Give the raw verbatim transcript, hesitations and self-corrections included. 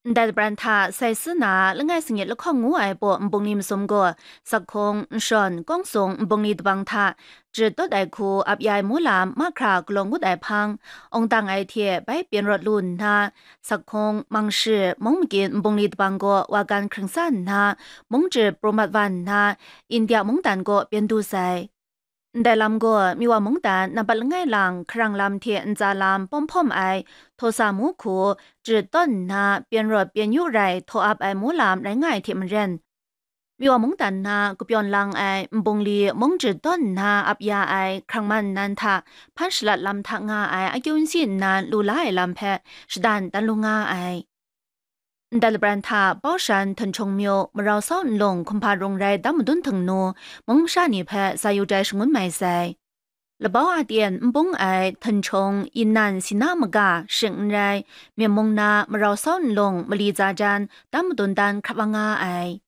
Ndai labran hta sai si na langai sangit lahkawng ngu ai baw nbungli masum gaw, sakhung, nshawn, kawng sung nbungli dabang hta jat dawt ai hku ap ya ai mu lam mahkra galaw ngut ai hpang, awng dang ai hte bai pyen rawt lu nna, sakhung, mangshi, mung makin nbungli dabang gaw wa gan hkring sa nna, mung jat pru mat wa nna, India mungdan gaw pyen du sai. Ndai lam gaw Miwa mungdan nampat langai lang hkarang lam hte ntsa lam pawm hpawm ai Htosa mu hku jat tawn nna pyen rawt pyen yu rai htaw ap ai mu lam rai nga ai hte maren, Miwa mungdan na kapyawn lang ai nbungli mung jat tawn nna ap ya ai hkrang man nan hta hpan shalat lam hta nga ai akyu nsi nnan lu la ai lam hpe shadan dan lu nga ai. Ndai labran hta Baushan, Htunchung myu, Marau Sau nlung hkumhpa rung rai dam madun htingnu, mung masha ni hpe sa yu jai shangun mai sai. Labau a ten n bung ai Htunchung, Yinan, Sina maga shing n rai, Myen mung na Marau Sau nlung mali tsa jan dam madun dan hkrap nga ai.